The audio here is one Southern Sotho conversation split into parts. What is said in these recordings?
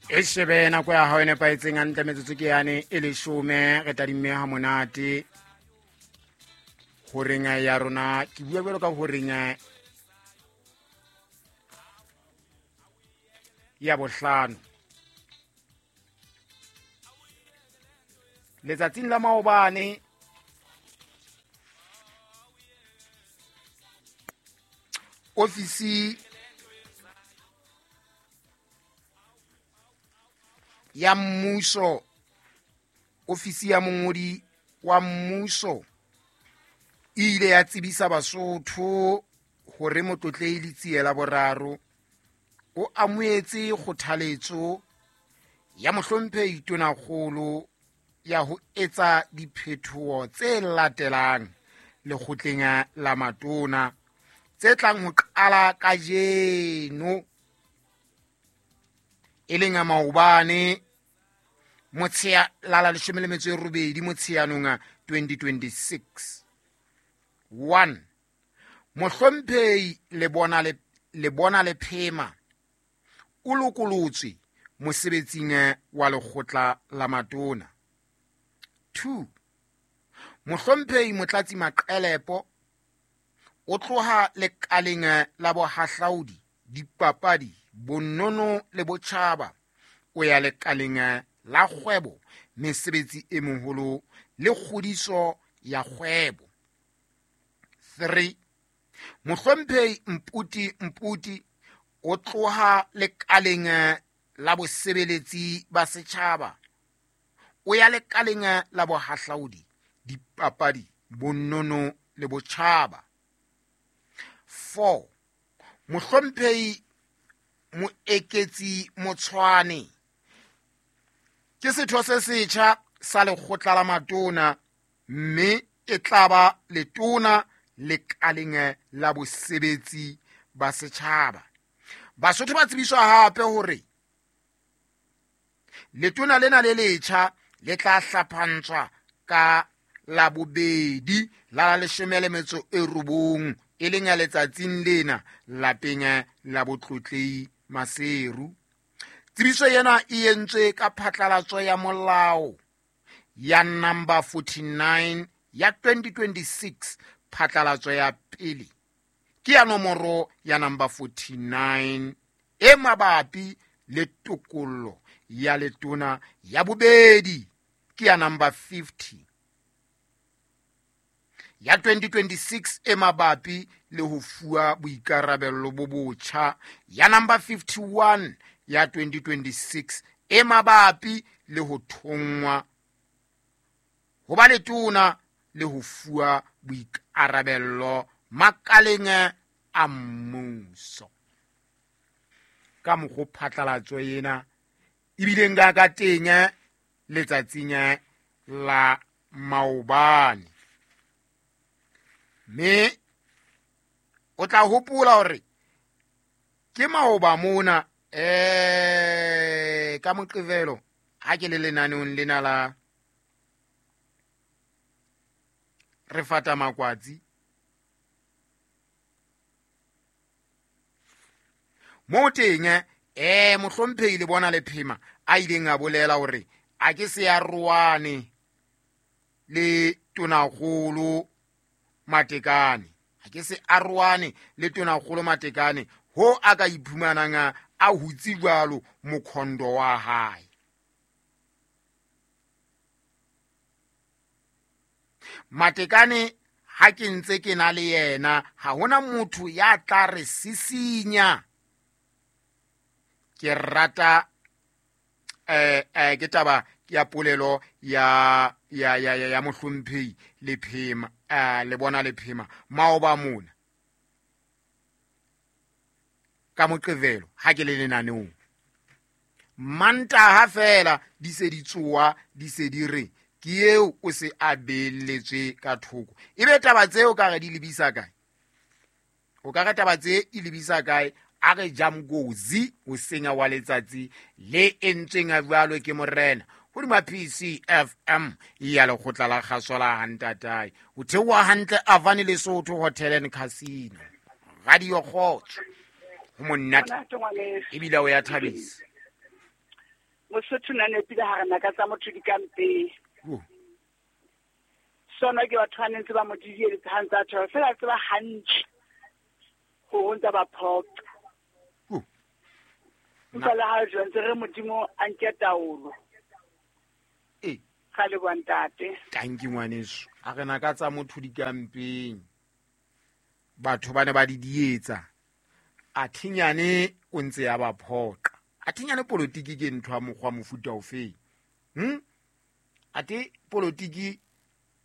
E shebe nako ya hao e nepahetseng hantle, metsotso ke yane e leshome. Re tadimme ha monate horeng ya rona. Ke bua jwalo ka horeng ya bohlano letsatsing la maobane. Ofisi ya mmuso, ofisi ya mongodi wa mmuso e ile ya tsebisa Basotho hore Motlotlehi Letsie la Boraro o amohetse kgothaletso ya Mohlomphehi Tonakgolo ya ho etsa diphetoho tse latelang lekgotleng la matona tse tlang ho qala kajeno, e leng a maobane motshea la la 18 Motsheanong 2026. 1 Mohlomphehi Lebona Lephema o lokolotswe mosebetsing wa lekgotla la matona. 2 Mohlomphehi Motlatsi Maqelepo o tloha lekaleng la bohahlaudi, dipapadi, bonono le botjhaba, o ya lekaleng la kgwebo, mesebetsi e moholo le kgodiso ya kgwebo. 3 Mohlomphehi Mputi Mputi o tloha lekaleng la bosebeletsi ba setjhaba, o ya lekaleng la bohahlaudi, dipapadi, bonono le botjhaba. 4 Mohlomphehi Moeketsi Motshwane ke setho se setjha sa lekgotla la matona, mme e tla ba letona lekaleng la bosebetsi ba setjhaba. Basotho ba tsebiswa hape hore letona lena le letjha le tla hlaphantswa ka la bobedi la la 19, e leng ya letsatsing lena, lapeng la Botlotlei Maseru. Tsebiso ena e entswe ka phatlalatso ya molao ya number 49 ya 2026. Phatlalatso ya pele ke ya nomoro ya number 49 e mabapi le tokollo ya letona, ya bobedi ke ya number 50 ya 2026 e mabapi le ho fuwa boikarabello bo botjha, ya number 51 ya 2026 e mabapi le ho thonngwa ho ba letona le ho fuwa boikarabello makaleng a mmuso. Ka mokgo phatlalatso ena ebileng ka teng letsatsing la maobane. Mme o tla hopola hore ke maoba mona ka Moqebelo ha ke le lenaneong lena la re fata makwatsi, moo teng Mohlomphehi le bona Lephema a ileng a bolela hore a ke se a roane le Tonakgolo Matekane, a ke se a roane le Tonakgolo Matekane ho a ka iphumanang a hutse jwalo mokhondo wa hae. Matekane ha ke ntse ke na le yena, ha hona motho ya tla re sisinya. Ke rata ke taba ya polelo ya ya ya ya Mohlomphehi Lephema, le bona Lephema maoba mona ka Moqebelo ha ke le lenaneong. Mantaha fela di se di tsoa, di se di re ke eo o se a beelletswe ka thoko. Ebe taba tseo ka re di lebisa kae? O ka re taba tse e lebisa kae? A re jamgozi o senya wa letsatsi le entsweng a jwalo ke morena hodima PCFM ya lekgotla la kgaso la Hantatae. O theoha hantle Avani Lesotho Hotel and Casino. Radio Kgotso. Ho monate. Ebile o ya thabisa. Mosotho na nepile ha re naka tsa motho di ka mpeng. Sona ke batho ba ne ntse ba mo didieletse ha ntse a thola fela a tseba hantle hore o ntse ba phoqa. Empa le ha jwang ntse re Modimo a nke taolo. Ee. Ga leboha ntate. Tanki ngwaneso. A re naka tsa motho di ka mpeng. Batho ba ne ba di dietsa. A thinyane o ntse ya ba phoqa. A thinyane politiki ke ntho ya mokgwa mofuta ofeng. Ate politiki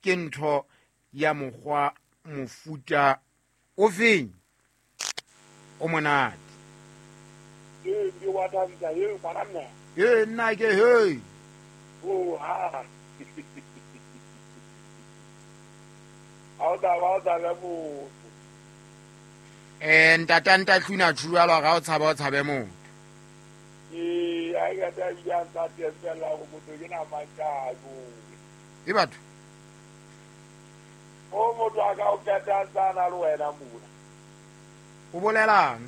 ke ntho ya mokgwa mofuta ofeng. O monate. Ee, ke wa thabisa, ee, ngwana mme. Ee, nna ke hey. Oh, ha. Ha o tla ba o tla motho. Ntata ntatluna tjhualo ga o tshaba o tshabe motho. Ee, a ke tla bia ntate fela go motho ke na mantšako. E batho. O motho a ka o keta tsana le wena mona. O bolelang?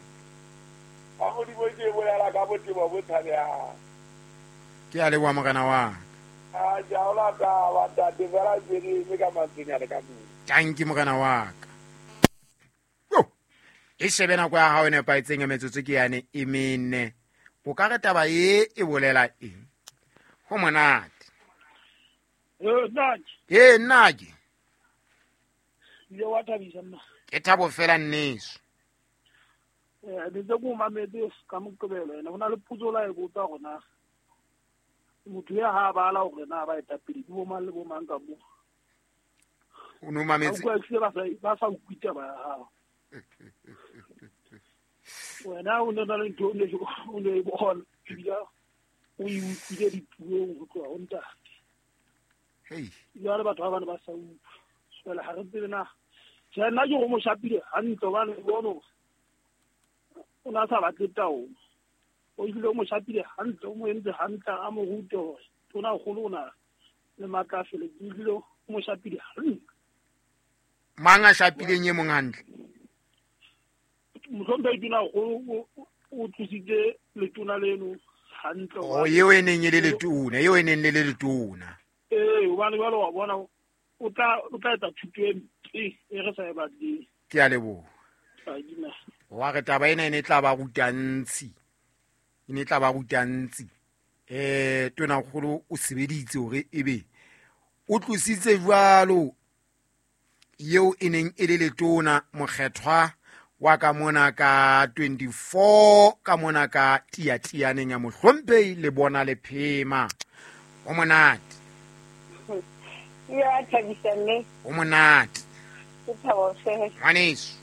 Ba Modimo ke bolela ka botebo bo tshabehang. Ke a leboha morena wa ka. A ke a o lata ba ntate fela ke re eme ka mantswenyana ka moo. Tanki morena wa ka. Yo! E shebe nako ya hao e nepahetseng ya metsotso ke yane e mene. O ka re taba e e bolela eng? Ho monate. Ee, nnake. Ee, nnake. Ile wa thabisa nna. Ke thabo fela nneso. Ne ntse ke o mametse ka Moqebelo ena, ho na le potso la e botsa hore na motho ya ha bala hore na ba etapele ke bo mang le bo mang ka moo. O no mametse. Ba utlwa ehlile ba sa utlwe taba ya hao. Wena o ne na le ntho o ne e bona, ebile o e utlwile dipuong ho tloha ho ntate. Hei. Jwale batho ba bane ba sa utlwe. Jwale ha re tsebe na. Tjhe, nna ke go mo shapile hantle hobane ke bone hore o na sa batle taolo. O ebile o mo shapile hantle, o mo entse hantle, a mo rute hore tona kgolo o na le matla a felletseng. Ebile o mo shapile hantle. Mang a shapileng e mong hantle? Mohlomphehi tona kgolo o tlositse letona leno hantle. Oh, eo e neng e le letona, eo e neng le le letona. Ee, hobane jwale wa bona o tla etsa thuto e mpe e re sa e batleng. Ke a leboha. Wa re taba ena e ne tla ba ruta ntsi. E ne tla ba ruta ntsi. Tona kgolo o sebeditse hore ebe o tlositse jwalo eo e neng e le letona mokgethwa wa ka mona ka 24 ka mona ka tiatianeng ya mohlomphehi le bona le phema. O monate. Ya thabisa mme. O monate. Ke thabo fela. Ngwaneso.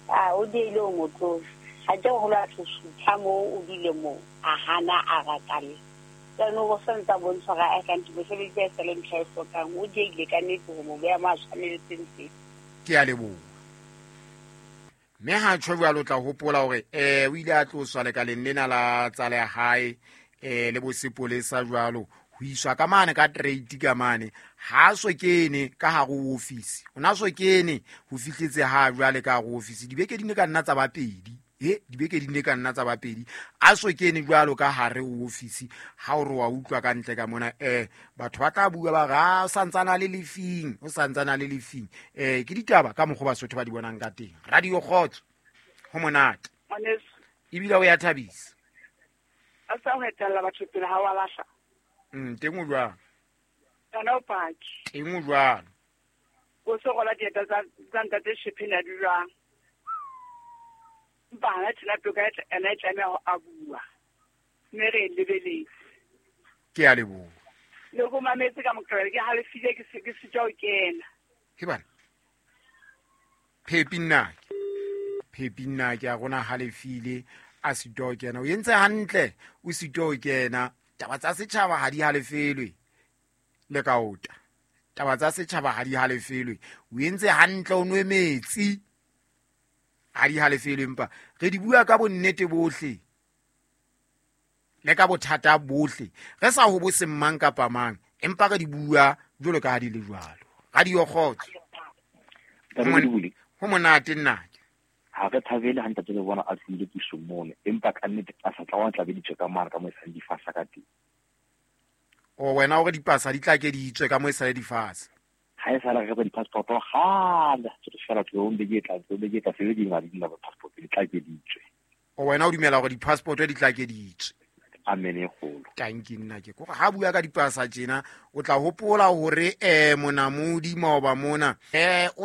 A o diele o motlo. Ha ke ho la thusutha mo o dile mo a hana a ratale. Tseno go sentsa bontsha ga a ka ntse mosebetsi a sele ntlha e hlokang o diele ka nnete ho mo beha mo a tshwaneletseng teng. Ke a leboha. Mme ha tjho jwalo o tla hopola hore o ile a tloswa lekaleng lena la tsa lehae le bosepolesa jwalo ho iswa ka mane ka trade ka mane ha so kene ka hare ho office. O na so kene ho fihletse ha jwale ka hare ho office dibeke di ne ka nna tsa ba pedi. Dibeke di ne ka nna tsa ba pedi. A so kene jwalo ka hare ho office ha o re wa utlwa ka ntle ka mona batho ba tla bua ba re a santsana le lefing, o santsana le lefing. Ke ditaba ka mokgwa Basotho ba di bonang ka teng. Radio Kgotso ho monate. Ngwaneso. Ebile o ya thabisa. A sa ho etella batho pele ha wa lahla. Teng o jwang? Yona o paki. Teng o jwang? O se rola dieta tsa ntate Shepheni a di jwang? Empa hana tjena toka ena e tlameha ho a bua. Mme re e lebeletse. Ke a leboha. Le go mametse ka Moqebelo, ke halefile ke sitwa ho kena. Ke bana. Phepi nnake. Phepi nnake a rona halefile a sitwa ho kena. O entse hantle o sitwa ho kena. Taba tsa setjhaba ha di halefelwe le kaota. Taba tsa setjhaba ha di halefelwe. O entse hantle o nwe metsi. Ha di halefelwe empa re di bua ka bonnete bohle le ka bothata bohle. Re sa ho bo seng mang kapa mang empa re di bua jwalo ka ha di le jwalo. Radio Kgotso. Ho monate nnake. Ha re thabele ha ntate le bona a tlile pusong mono empa ka nnete a sa tla wa tla beditswe ka mane ka mo e sang difasa ka teng. O wena hore dipasa di tla ke di tswe ka mo e sale di fatshe. Ha e sala re ba di-passport kgale, se re fela tlo beke e tlang, tlo beke e tla sebe di ngadi di passport di tla ke di tswe. O wena o dumela hore di-passport di tla ke di tswe. Amen e kgolo. Tanki nna ke kore ha bua ka dipasa tjena o tla hopola hore monamodi maoba mona o